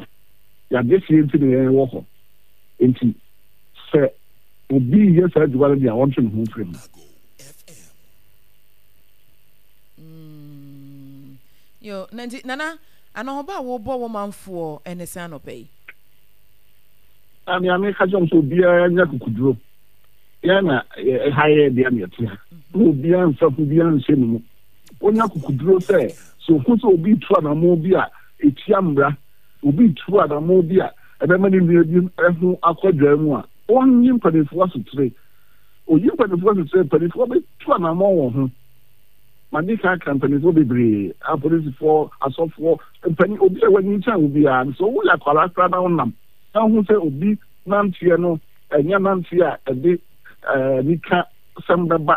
Yɛn adehyeɛ nti na yɛn wɔ hɔ. Enti sɛ obi reyɛ saa adwuma no deɛ a, ɔntwe ne ho mfiri ho. Mm, yo, na nti Nana, anɔhoba a wobɔ wo manfoɔ ɛne sɛn anɔpa yi? Na nea meka kyerɛ wɔn sɛ obiara nya kukuduro. Yɛn na ɛha yɛ dea na yɛte ha. Na obiara mfa hu biara nhyɛ ne mu. Onya kukuduro sɛ sɛ ohu sɛ obi retu anammɔn bi a etia mmara, obi retu anammɔn bi a ɛbɛma ne nua bi ho akɔ adwaa mu a, onnyi mpanimfoɔ asotire. Oyi mpanimfoɔ asotire a, mpanimfoɔ bɛtu anammɔn wɔ ho. Madi kan aka mpanimfoɔ bebree, apolisifoɔ, asɔfoɔ, mpanin, obi a wanyin kyɛn wo biara no, sɛ woyɛ akwadaa koraa na wonam na wohu sɛ obi nanteɛ no ɛnyɛ nanteɛ a ɛde anikasɛm bɛba,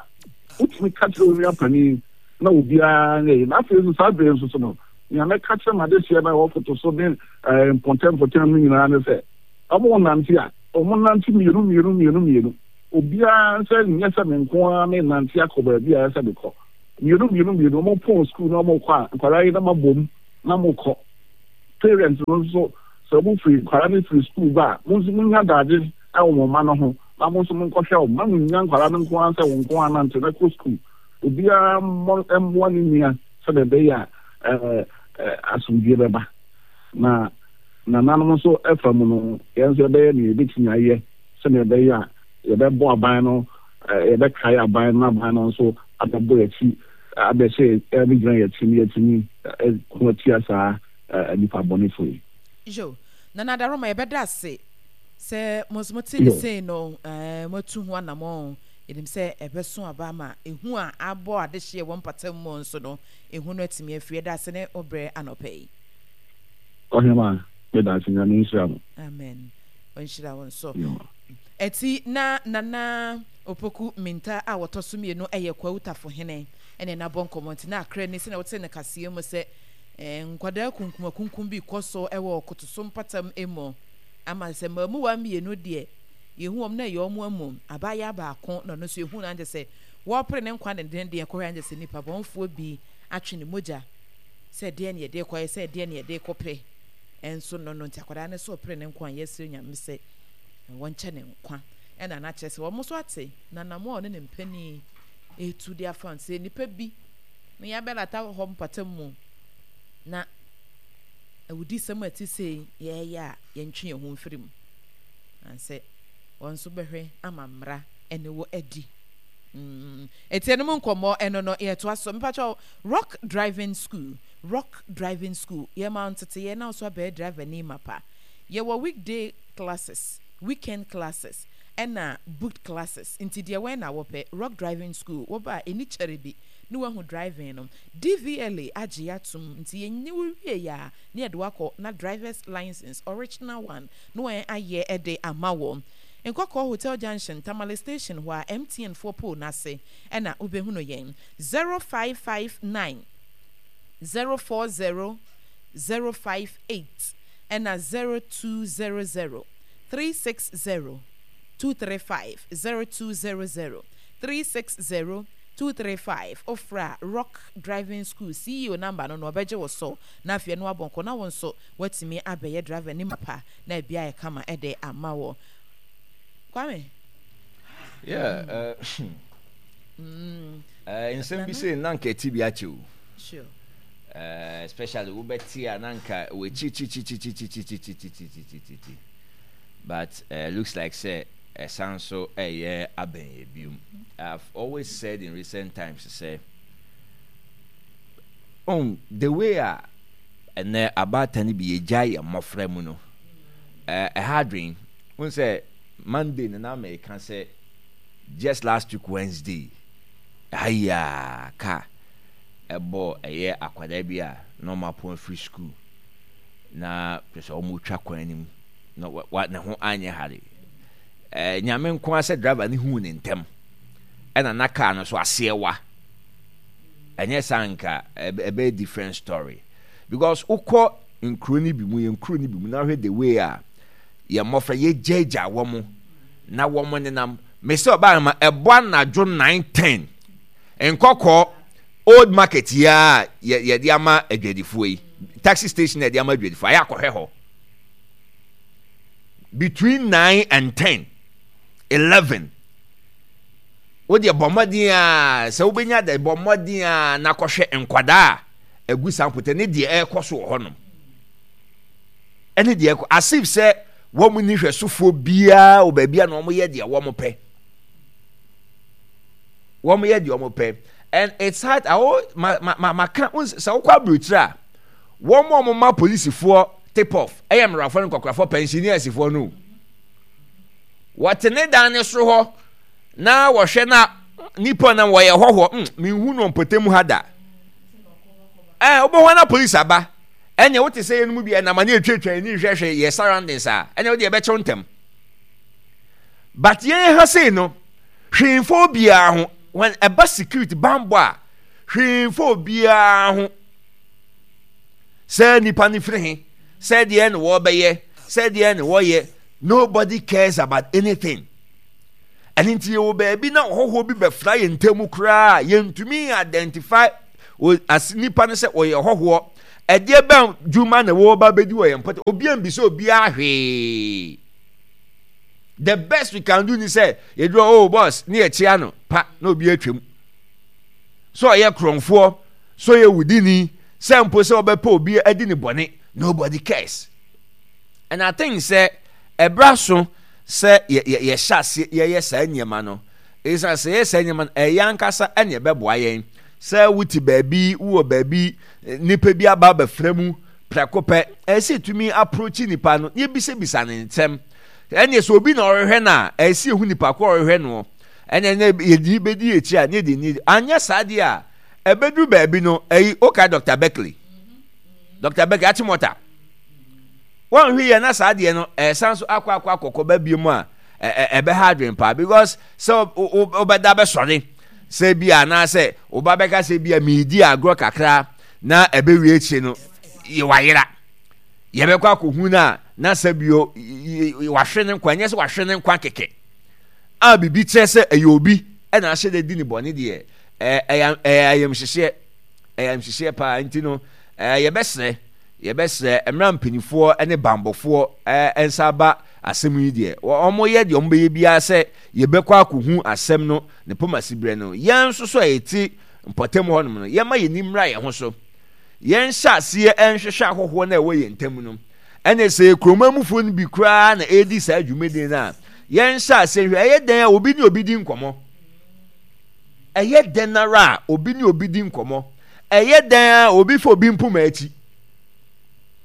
wotumi ka kyerɛ wo nua panin na obiara nyɛ yie. Na afei nso saa bere nso so no, nea mɛka kyerɛ m'adehyeɛ no a ɛwɔ foto so ne mpɔtam mpɔtam no nyinaa ne sɛ, wɔn nante a, wɔn nante mmienu mmienu mmienu mmienu. Obiara sɛ nyɛ sɛ me nko ara menante akɔ baabi a ɛsɛ sɛ mekɔ. Mmienu mmienu mmienu, wɔn pɔn sukuu na wɔkɔ a, nkwadaa yi na mabom na mokɔ. Parents no nso, sɛ wɔn firi nkwadaa no firi sukuu ba a, mo nso monya adagye wɔ mo mma no ho na mo nso monkɔhwɛ wɔn. Mma monnya nkwadaa no nko ara sɛ wɔn nko ara nante na kɔ sukuu. Obiara mmɔ mmoa ne nua sɛdeɛ ɛbɛyɛ a ɛɛ asomdwie bɛba. Na nananom nso fa mu no, yɛn nso yɛbɛyɛ nea yɛbɛtumi ayɛ sɛdeɛ ɛbɛyɛ a yɛbɛbɔ aban no, yɛbɛkae aban no na aban no nso abɛbɔ yɛn akyi, abɛhyɛ abɛgyina yɛn akyi na yɛatumi ko atia saa nnipa bɔnefo yi. Yo, Nana Adaroma, yɛbɛda ase sɛ mo nso mote ne sei no, eh, moatu ho anammɔn. Yɛnim sɛ ɛbɛso aba ama ehu a abɔ adehyeɛ wɔ mpata mu nso no, ehu no atumi afiri. Yɛda ase ne wo berɛ anɔpa yi. Ɔhema, meda ase, Nyame nhyira mo. Amen. Ɔnhyira wo nso. Ɛti na Nana Opoku Minta a wɔtɔ so mmienu yɛ Kwawu Tafohene ɛne no abɔ nkɔmmɔ nti na akra ni sɛnea wote no kaseɛ mu sɛ eh, nkwadaa kunkumakunkum bi kɔ so wɔ Kotoso mpatam mu ama sɛ mmaamuwa mmienu deɛ yɛhu wɔn na ɛyɛ wɔn amu abaayewa baako na ɔno nso yɛhu no ankyɛ sɛ wɔrepere ne nkwa dendenden kɔhwɛ ankyɛ sɛ nipa bɔnfoɔ bi atwe ne mogya sɛ deɛ ne yɛde kɔyɛ sɛ deɛ ne yɛde kɔpɛ nso no no nti akwadaa no so ɔpere ne nkwa a yɛsrɛ Nyame sɛ wɔnkyɛ ne nkwa ɛna na kyerɛ sɛ wɔn nso ate na nam a ɔne ne mpanin etu de afa sɛ nipa bi na yɛabɛlata hɔ mpata mu na awudisɛm a ɛte sei yɛyɛ a yɛntwe yɛn ho mfiri mu ansɛ wɔn nso bɛhwɛ ama mmara ɛne wɔ adi. Mm. Ɛti ɛno mu nkɔmmɔ ɛno no yɛtoa so. Mepakyɛw, Rock Driving School, Rock Driving School, yɛma wo nteteyɛ na wo so abɛyɛ driver ni mapa. Yɛwɔ weekday classes, weekend classes, ɛna booked classes. Nti deɛ wɛn na wɔpɛ? Rock Driving School, woba a ɛni kyɛre bi ne wahu driving no. D V L A agye atom, nti yɛnyi wo wie yɛ a ne yɛde wakɔ na driver's license, original one, na wɔn ayɛ ɛde ama wɔ. Nkɔkɔɔ Hotel Junction, Tamale Station hɔ a M T N foɔ pole n'ase ɛna wobɛhunu yɛn. zero five five nine zero four zero zero five eight ɛna zero two zero zero three six zero two three five, zero two zero zero three six zero two three five. Ofra Rock Driving School C E O number no na ɔbɛgye wo so na afei no abɔ nkɔ na wo nso watumi abɛyɛ driver ne mapa na ebi ayɛ kama ɛde ama wɔ Kwame. Yeah, uh, mm. uh, nsɛm bi sɛ na nka ɛti bi akyɛ o. Sure. Uh, especially wobɛte a na nka wɔakyirikyirikyirikyirikyirikyirikyirikyirikyiri, but uh, looks like sɛ ɛsan so ɛyɛ abɛn yɛ biom. I've always said in recent times sɛ um, the way a ɛnɛ abaatan no bi yɛgya yɛ mmɔfra mu no, ɛha adwen n sɛ Monday no na mɛka sɛ just last week Wednesday ɛha yi a kaa ɛbɔ ɛyɛ akwadaa bi a na ɔmo apɔn afiri school na kyerɛ sɛ ɔmo twa kwan no mu na wa ne ho anyɛ hare. ɛɛ Nyame nko ara sɛ driver ne huu ne ntɛm ɛna na kaa no so aseɛ wa ɛnyɛ saa nka ɛbɛyɛ different story, because wokɔ nkuro no bi mu, yɛn nkuro no bi mu, na hwɛ the way a yɛn mmɔfra yɛgyaagyaa wɔn na wɔn nenam. Mesɛ ɔbaa ma ɛbɔ anadwo nine ten, Nkɔkɔɔ Old Market yi a yɛde ama adwadifoɔ yi, taxi station yɛde ama adwadifoɔ ayɛ akɔhwɛ hɔ between nine and ten eleven. Wodeɛ bɔ mmɔden a sɛ wobɛnya dɛ, bɔ mmɔden a na kɔhwɛ nkwadaa a agu saa mpotɛ ne deɛ ɛrekɔ so wɔ hɔnom ɛne deɛ ɛkɔ, as if sɛ wɔn ni hwɛsofoɔ biara wɔ baabi a na wɔn yɛ deɛ wɔn pɛ, wɔn yɛ deɛ wɔn pɛ, and it's hard. Awo ma ma ma ma ka sɛ wokɔ aburokyire a, wɔn a wɔn ma polisifoɔ tip off ɛyɛ mmarafoɔ ne nkɔkorafoɔ, pensioners-foɔ no. Wɔte ne dan ne soro hɔ na wɔhwɛ na nipa na wɔyɛ hɔhoɔ mm minhu no mpɔtam ha da. Ɛɛ wobɛhɔ na polisi aba. Ɛnna wote sɛ yɛn mu bi ɛnam ani etwatwa ani hwɛhwɛ yɛ surroundings a, ɛnna wode ɛbɛkyɛw ntɛm. But yɛn ha sei no, hwee mfa obiara ho. When ɛba security bambɔ a, hwee mfa obiara ho sɛ nipa no firi he, sɛ deɛ na wɔbɛyɛ, sɛ deɛ na wɔyɛ. Nobody cares about anything. Ɛno nti yɛwɔ baabi na ɔhɔhoɔ bi bɛfra yɛn ntam koraa a, yɛntumi identify as nipa no sɛ ɔyɛ ɔhɔhoɔ. Ɛdeɛ bɛn dwuma na wɔreba bɛdi wɔ yɛn mpɔtam? Obiara mbisa obiara hwee. The best we can do ni sɛ yɛduru oh boss ne yɛkyea no pa na obi atwam. Sɛ ɔyɛ korɔmfoɔ, sɛ ɔyɛ wudini, sɛ mpo sɛ ɔbɛpɛ obi adi ne bɔne, nobody cares. And I think sɛ ɛberɛ aso sɛ yɛhyɛ aseɛ yɛyɛ saa nneɛma no. Ɛsiane sɛ yɛyɛ saa nneɛma no, ɛyɛ ankasa ɛne ɛbɛboa yɛn. Sɛ wote baabi, wowɔ baabi, nipa bi aba abɛfra mu prɛko pɛ, ɛsɛ sɛ yɛtumi approach nipa no na yɛbisabisa ne nsɛm. Ɛneɛ sɛ obi na ɔrehwɛ no a, ɛsɛ sɛ yɛhu nipa ko a ɔrehwɛ noɔ. Ɛneɛ na yɛde bɛdi akyi a, ne yɛde ni. Anyɛ saa deɛ a, ɛbɛduru baabi no, ɛyi, wokae Doctor Beckley? Doctor Beckley, Achimota. Wɔnhwɛ yie na saa adeɛ no ɛsan so akɔ akɔ akɔkɔ ba bio mu a ɛbɛha adwene paa because sɛ wobɛda bɛsɔre sɛ bi a anaasɛ woba bɛka sɛ bi a meedi agorɔ kakra na ɛbɛwie akyire no wayera yɛbɛkɔ akɔhu no a na sɛ bio wahwe ne nkwa ɛnyɛ sɛ wahwe ne nkwa kɛkɛ a biribi kyerɛ sɛ ɛyɛ obi ɛna ahyɛ dɛ di ne bɔne deɛ ɛyɛ ayamhyehyeɛ ɛyɛ ayamhyehyeɛ paa nti no yɛbɛsrɛ Yɛbɛsrɛ, mmerɛ a mpaninfoɔ ne banbɔfoɔ nsa aba asɛm yi deɛ, wɔyɛ deɛ wɔbɛyɛ biara sɛ yɛbɛkɔ akɔhu asɛm no ne pomasiberɛ no. Yɛn nso so a yɛte mpɔtam hɔnom no, yɛmma yɛn ani mmra yɛn ho so. Yɛnhyɛ aseɛ nhwehwɛ ahɔhoɔ no a ɛwɔ yɛn ntam no. Ɛne sɛ yɛ kuroma mufoɔ no bi koraa na ɛredi saa dwumadie no a, yɛnhyɛ aseɛ nhwɛ. Ɛyɛ dɛn a obi ne obi di nkɔmmɔ? Ɛyɛ dɛn ara a obi ne obi di nkɔmmɔ? Ɛyɛ dɛn a obi fa obi mpoma akyi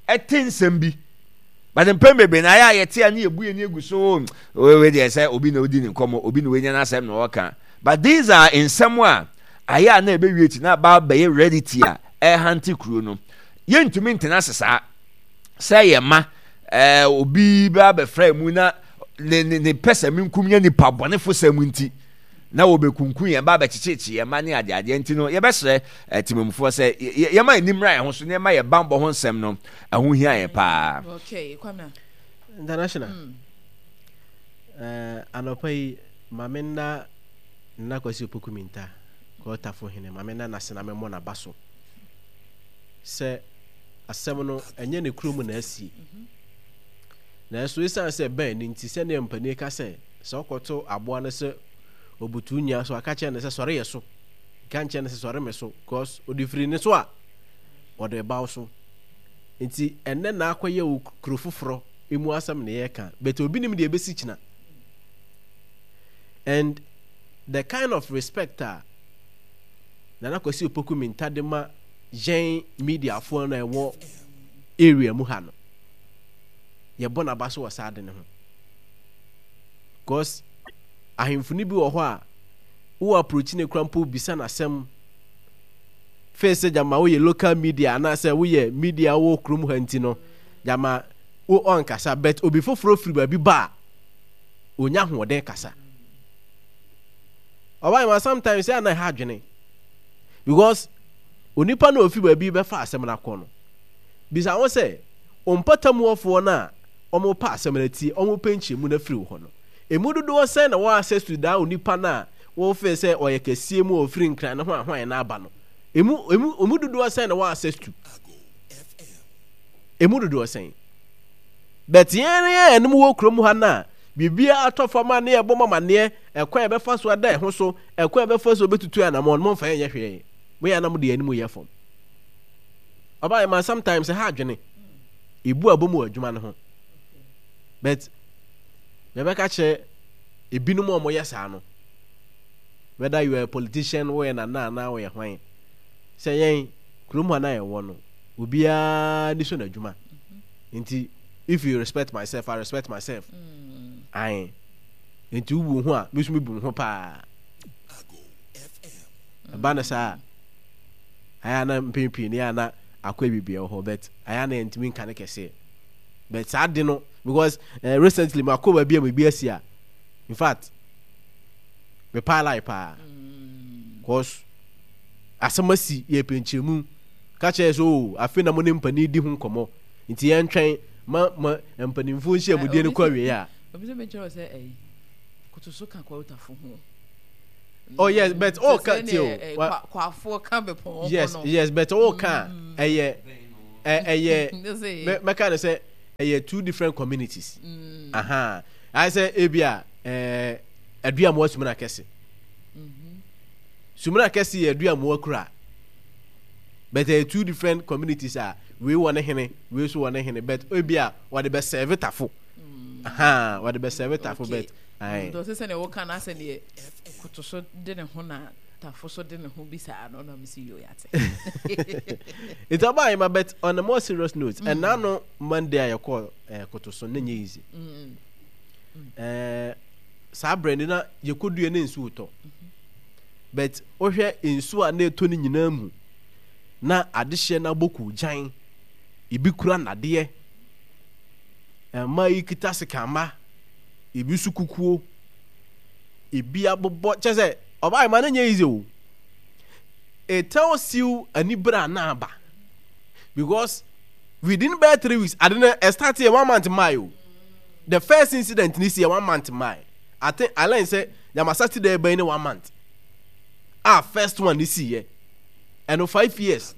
ɛte nsɛm bi? But mpɛn bebree na ayɛ a yɛte a ne yɛbu yɛn ani agu so, wei deɛ sɛ obi na odi ne nkɔmmɔ, obi na wanya n'asɛm na ɔka. But these are nsɛm a ayɛ a na ɛbɛwie akyi na aba abɛyɛ reality a ɛrehante kuro no. Yɛntumi ntena ase saa sɛ yɛn mma ɛɛ obi bɛ abɛfra mu na ne ne ne pɛ sɛ menkum nyɛ nipa bɔnefo sɛm nti na wɔbɛkunkum yɛn ba abɛkyekyekye yɛn mma ne adeadeɛ nti no, yɛbɛsrɛ eh, temamufoɔ sɛ yɛma yɛn ani mmra yɛn ho so na yɛma yɛn bammɔ ho nsɛm no ɛho hia yɛn paa. Okay, Kwame. International. Mm. Uh, anɔpa yi, ma me nna Nana Kwasi Opoku Minta, Kɔɔtafo hene, ma me nna n'ase na memmɔ n'aba so sɛ asɛm no ɛnyɛ ne kurom na asie. Mm-hmm. Nanso esiane sɛ ɛbɛn no nti, sɛnea mpanin ka sɛ, sɛ ɔkɔto aboa no sɛ obutuw nnua so a, ka kyerɛ no sɛ sɔre yɛ so. Nka nkyerɛ no sɛ sɔre me so, because ɔde firi ne so a, ɔde ba wo so. Nti ɛnnɛ na akɔyɛ wo kuro foforɔ emu asɛm na yɛreka, but obi nim deɛ ɛbɛsi kyina. And the kind of respect a Nana Kwasi Opoku Minta de ma yɛn mediafoɔ no a ɛwɔ area mu ha no, yɛbɔ n'aba so wɔ saa ade no ho. Cause ahemfo no bi wɔ hɔ a wo approach ne kora mpo bisa n'asɛm fee sɛ gyama woyɛ local media anaasɛ woyɛ media wɔ kurom ha nti no gyama wo ɔnkasa, but obi foforɔ firi baabi ba a ɔnya ahoɔden kasa. Ɔbaa ma sometimes yɛ na ɛha adwene because onipa no ofi baabi bɛfa asɛm no akɔ no bisa ho sɛ ɔmpatamuɔfoɔ no a wɔrepɛ asɛm no atie, wɔrepɛ nkyerɛmu no afiri wo hɔ no, ɛmu dodoɔ sɛn na wɔ access to daa onipa no a wofee sɛ ɔyɛ kɛseɛ mu a ɔfiri Nkran ne hwan hwan no aba no? Ɛmu, ɛmu, ɛmu dodoɔ sɛn na wɔ access to? Ɛmu dodoɔ sɛn? But yɛn yɛn ɛnom wɔ kurom ha no a, biribiara atɔ fam a ne yɛbɔ mo amaneɛ, ɛkwan a yɛbɛfa so ada ɛho so, ɛkwan a yɛbɛfa so bɛtutu anamɔn no, momfa yɛn nyɛ hwee. Moyɛ a na mode yɛn anim yɛ fam. Ɔbaa yɛ ma sometimes ɛha adwene. Ebu abom wɔ adwuma no ho. But mebɛka kyerɛ ebinom a wɔyɛ saa no, whether you are a politician, woyɛ nana anaa woyɛ hwan, sɛ yɛn kurom ha na yɛwɔ no, obiara ni so n'adwuma. Nti if you respect myself, I respect myself. Mm. Ae. Nti wobu ho a, me nso mebu ho paa. Ɛba no saa a, ayɛ a na mpɛn pii no yɛ a na akɔ biribi wɔ hɔ but ayɛ a na yɛntumi nka no kɛseɛ but saa de no because uh, recently makɔ baabi a biribi asi a in fact mepaa lie paa because asɛm asi yɛ pɛnkyerɛmu ka kyerɛ sɛ o oh, afei na mo ne mpanin di ho nkɔmmɔ nti yɛntwɛn ma ma mpanimfoɔ nhyiamudie no kɔ awie a obi sɛ bɛkyerɛ sɛ ɛyi Kotoso ka Kwawu Tafo ho. Oh yes, but all ka Sɛ ti o. sɛdeɛ, eh, Wa- kwa- Kwafoɔ ka bepɔn ho Yes, no. yes, but all ka ɛyɛ ɛ- ɛyɛ Sɛ- mɛ mɛka ne sɛ ɛyɛ two different communities. Mm. Aha. Ayɛ sɛ ebi a ɛɛ Aduamoa Sumina Kɛse. Mhm. Sumina Kɛse yɛ Aduamoa kura. But ɛyɛ two different communities a wei wɔ ne hene, wei nso wɔ ne hene, but ebi a wɔde bɛ serve Tafo. Aha, wɔde bɛ serve Tafo Okay. but ayi. Nti ɔsɛ sɛdeɛ woka no asɛ deɛ Kotoso de ne ho na Tafo so de ne ho bi saa no na mesi yo yate. Nti ɔbaa yi ma, but on a more serious note, ɛna no Monday a yɛkɔ ɛɛ Kotoso ne nyɛ easy. Mm. Ɛɛ saa berɛ no na yɛkɔdua ne nsuo tɔ, but wohwɛ nsuo a na ɛtɔ no nyinaa mu na adehyeɛ no abɔ koogyan, ebi kura nnadeɛ, mmaa yi kita sekamma, ebi nso kukuo, ebi abobɔ kyɛ sɛ ɔbaa yi ma no nyɛ easy o. It tells you anibere a na aba because within bɛyɛ three weeks ade no ɛstart yɛ one month mmaa yi o. The first incident ni si yɛ one month mmaa yi. I think I learn sɛ yamma Saturday bɛyi ne one month a first one ni si yɛ ɛno five years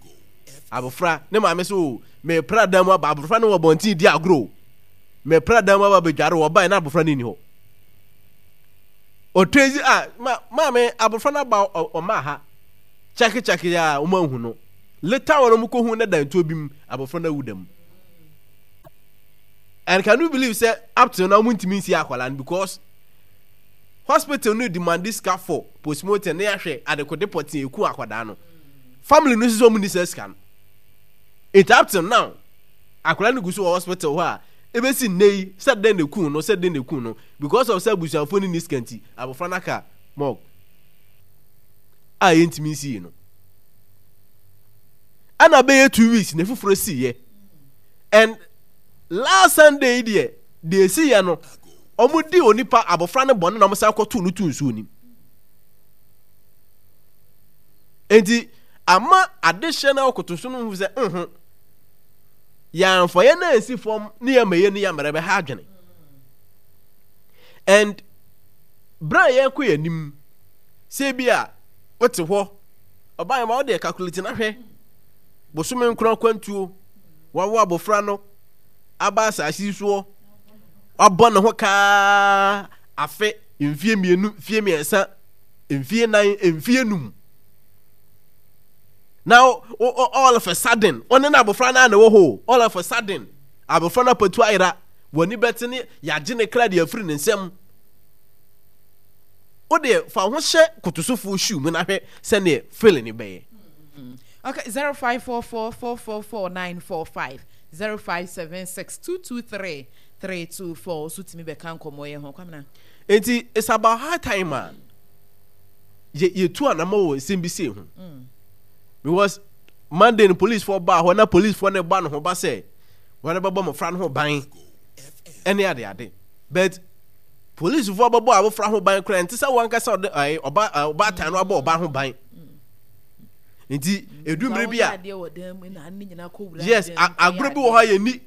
abofra ne maame so o mepra dan mu aba, abofra no wɔ bɔnten di agorɔ o, mepra dan mu aba bɛdware, wɔbae na abofra no nni hɔ. Ɔtwezi a ma maame abofra no aba ɔma ha kyɛke kyɛke a wɔn ahu no. Later wɔn wɔn kɔ hu ne dan tuo bi mu, abofra no awu dam. And can you believe sɛ up till now wɔn ntumi nsi akwadaa no because hospital no demand sika for postmortem ne ahwɛ adekode pɔtee eku akwadaa no. Family no nso wɔn ni sɛ sika no. It up till now akwadaa no gu so wɔ hospital hɔ a ebesi nne yi sɛ den na eku no, sɛ den na eku no, because of sɛ abusuafoɔ no ni sika nti abofra no aka morgue a yɛntumi nsi yi no. Ɛna bɛyɛ two weeks na efoforɔ si yɛ, and last Sunday yi deɛ deɛ esi yɛ no, wɔn di onipa abofra no bɔne na wɔn san kɔto no to nsuo nim. Nti ama adehyɛ na ɔkoto so no ho sɛ nho yɛamfa yɛn nan nsi fam ne yɛn ma yɛn ni yɛn bɛha adwene. And bere a yɛkɔ yɛn anim sɛ bi a wote hɔ ɔbaa yɛn ma wode calculate na hwɛ bosome nkron akwantuo, wawo abɔfra no aba asase yi soɔ, wabɔ ne ho kaa afe, mfie mmienu, mfie mmiɛnsa, mfie nan, mfie num, na all of a sudden ɔne na abɔfra no a na ɛwɔ hɔ, all of a sudden abɔfra no apatu ayera, w'ani bɛte ne yɛagye ne kra de afiri ne nsam. Wode fa ho hyɛ Kotosofoɔ shoe mu na hwɛ sɛneɛ feeling no bɛyɛ. Okay, zero five four four four four four nine four five zero five seven six two two three three two four. So timi bɛka nkɔmɔ yɛ ho kwamina. Nti it's about high time a yɛ yɛtu anamɔ wɔ nsɛm bi sei ho because Monday no police foɔ baa hɔ na police foɔ no ba no ho ba sɛ wɔn bɛbɔ mmɔfra no ho ban ɛne ade ade, but police foɔ bɛbɔ abɔfra ho ban koraa nti sɛ wɔn ankasa ɔde ɛɛ ɔba ɔbaatan no abɔ ɔba ho ban. Nti edu mmiri bi a, yes, agorɔ bi wɔ hɔ a yɛni,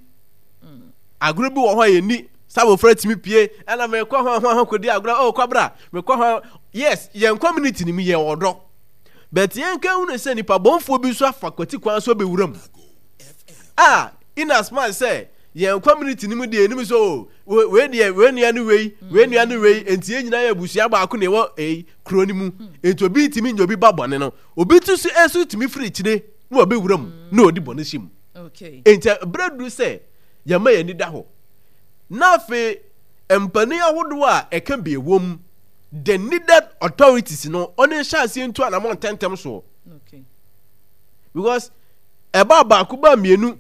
agorɔ bi wɔ hɔ a yɛni sɛ abɔfra tumi pie ɛna mekɔ ho ho ho kɔdi agorɔ oh kɔbra mekɔ ho. Yes, yɛn community ni mu yɛn ɔdɔ, but yɛn ka hunu sɛ nipa bɔnfoɔ bi nso afa kwati kwan so bɛwura mu a in as much sɛ yɛn community ni mu deɛ anim sɛ o wei deɛ wei nua ne wei, wei nua ne wei, nti yɛn nyinaa yɛ abusua baako na ɛwɔ ɛyi kuro no mu, nti obi ntumi nyɛ obi ba bɔne no, obi ti so nso tumi firi akyire na ɔbɛwura mu na ɔdi bɔne hyɛ mu. Nti berɛ duru sɛ yɛma yɛn ani da hɔ na afei mpanin ahodoɔ a ɛka bi ɛwɔ mu, the needed authorities no, ɔne nhyɛ aseɛ ntu anamɔ ntɛntɛm soɔ because ɛba baako ba mmienu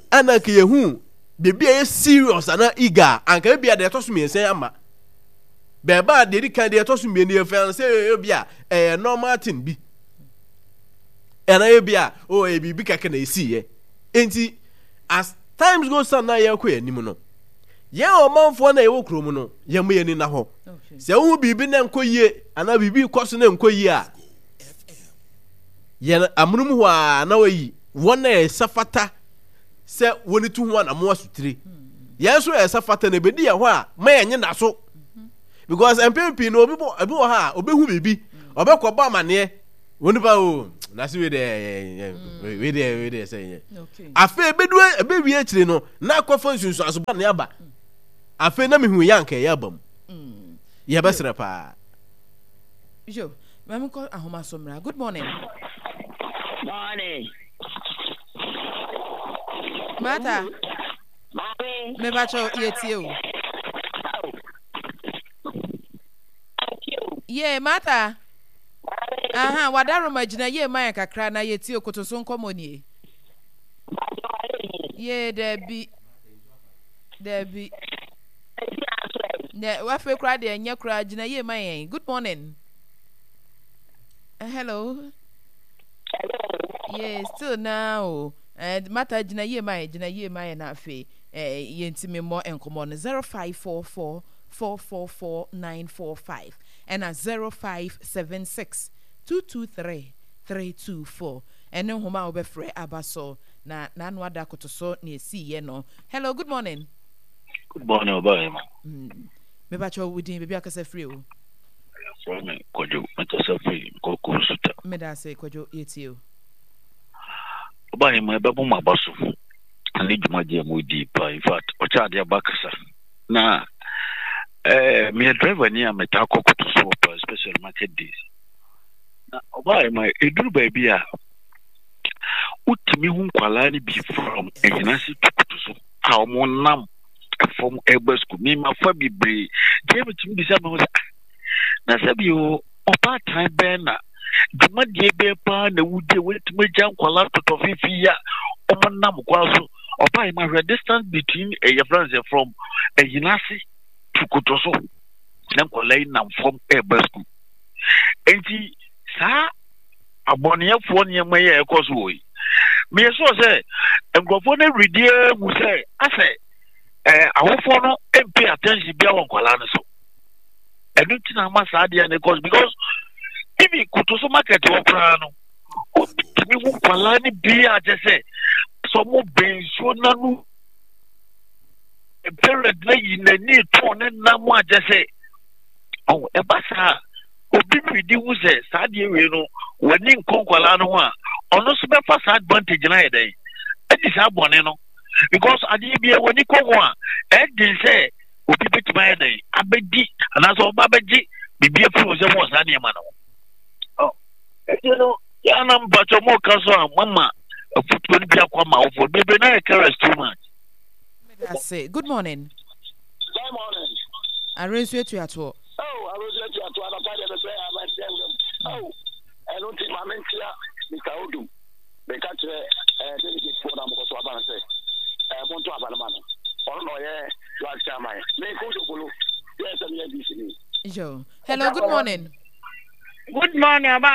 ɛna nka yɛhu biribi a ɛyɛ serious anaa eager, anka ebi a deɛ ɛtɔ so mmiɛnsa ama bɛɛba a deɛ edi kan deɛ ɛtɔ so mmienu yɛ fɛn sɛ ebi a ɛyɛ normal thing bi ɛna ebi a o ɛyɛ biribi kɛkɛ na esi yɛ. Nti as times goes on na yɛkɔ yɛn anim no, yɛn ɔmanfoɔ na yɛwɔ kurom no, yɛn mo yɛn ani na hɔ sɛ wohu biribi na nkɔ yie anaa biribi kɔ so na nkɔ yie a, yɛn amonom hɔ a na wɔyi wɔn na ɛsɛ fata sɛ wɔn tu ho anamo asotire. Yɛn nso ɛsɛ fata na ebedi yɛn hɔ a ma yɛn nye na so Because mpɛn pii no, obi bɔ ebi wɔ ha a obehu biribi, ɔbɛkɔ bɔ amaneɛ wɔn nipa o na se wei deɛ, wei deɛ, wei deɛ sɛ yɛ. Afei ebedu ebewie akyire no na akɔfa nsunsuanso bɔ ne aba. Afei na mehu yɛ anka ɛyɛ aba mu. Yɛbɛsrɛ paa. Yo, maame kɔ ahoma so mmra. Good morning. Morning. Martha. Maame. Mebakyɛw, yɛtie o. Ye, Martha. Aha, wadaroma gyina yie ma yɛn kakra na yɛtie o, koto so nkɔmmɔ nie. Ye, daabi. Daabi. Nɛ afei koraa deɛ ɛnyɛ koraa, gyina yie ma yɛn. Good morning. Uh, hello. Yeah, still now. Eh, Martha gyina yie ma yɛn, gyina yie ma yɛn na afei eh, yɛntumi mmɔ nkɔmmɔ no zero five four four four four four nine four five ɛna zero five seven six two two three three two four ɛne nhoma a wobɛfrɛ aba so na n'ano ada koto so na esiiɛ no. Hello, good morning. Good morning, Obayima. Mm. Mebakyɛ wo din, baabi akasa firi o. Frɛ me Kwadwo, mekasa firi Nkɔkɔ Nsuta. Meda ase Kwadwo, yɛtie o. Obayima, ɛbɛbɔ mo aba so ne dwumadie a modi pa. In fact, ɔkyɛ adeɛ aba kasa. Na eh, meyɛ driver ni a metaa kɔ koto soɔ pa, especially market days. Na Obayima, ɛduru baabi a wotumi hu nkwalaa no bi from Ahinase to koto so a wɔn nam fam ɛreba sukuu. Mema fa bebree deɛ metumi bisa me ho sɛ, ah, na sɛ bi o ɔbaatan bɛn na dwumadie bɛn paa na wodie wɔatumi agya nkwalaa totɔ fifi yi a wɔn nam kwan so. Ɔbaa yi ma hwɛ distance between ɛyɛ friends from Ahinase to koto so na nkwalaa yi nam fam ɛreba sukuu. Nti saa abɔneɛfoɔ nneɛma yi a ɛkɔ so wɔ yi, meyɛ sure sɛ nkurɔfoɔ no awuridie hu sɛ asɛ ɛɛ awofoɔ no mpay attention bia wɔ nkwadaa no so. Ɛno nti na ama saa adeɛ no kɔ so, because even koto so market wɔ koraa no, wotumi hu nkwadaa no bi a kyɛ sɛ sɛ ɔmo bɛn nsuo n'ano, parent na yi n'ani tɔn ne nam a kyɛ sɛ ɔwɔ ɛba saa. Obi redi hu sɛ saa adeɛ wei no w'ani nkɔ nkwadaa no ho a, ɔno nso bɛfa saa advantage no ayɛ dɛn adi saa bɔne no, because adeɛ bi a w'ani kɔ ho a, ɛden sɛ obi bɛtumi ayɛ dɛn abɛdi anaasɛ ɔba bɛgye biribi afiri wo sɛ wɔ saa nneɛma no ho. Ɛti no yɛana mpakyɛ mo ka so a mama afotuo no bi akɔ ama awofoɔ bebree na yɛ careless too much. Meda Good morning. Good morning. Arensu etuatoɔ. Oh, Arensu etuatoɔ anapa deɛ bɛbrɛ yɛ ama ɛsɛ nwura mu. Oh, ɛno nti maame ntia Mister Odum. Meka kyerɛ ɛɛ delegate foɔ na mokɔ so aba no sɛ ɛɛ monto aba no ma no. Ɔno na ɔyɛ vice chairman. Me nko Jokolo yɛ sɛ meyɛ D C ni. Yo. Hello, good morning. Good morning, Oba.